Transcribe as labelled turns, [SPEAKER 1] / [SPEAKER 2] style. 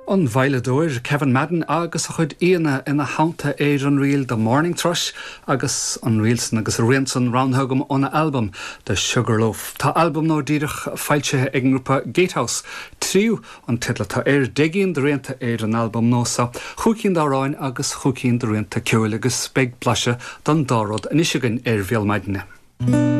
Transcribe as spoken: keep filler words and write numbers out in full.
[SPEAKER 1] An veidhleadóir Kevin Madden agus a chuid aíonna ina theannta ar an ríl The Morning Thrush agus an ríl san agus a rian san roghnaithe agam óna albam The Sugarloaf. Tá albam nua díreach foilsithe ag an ngrúpa Gatehouse tríú an teideal atá air deich gcinn de rianta ar an albam nua seo, chúig cinn d'amhráin agus chúig cinn de rianta ceoil agus beidh blaiseadh den dá rud anois againn ar Bhéal Maidine.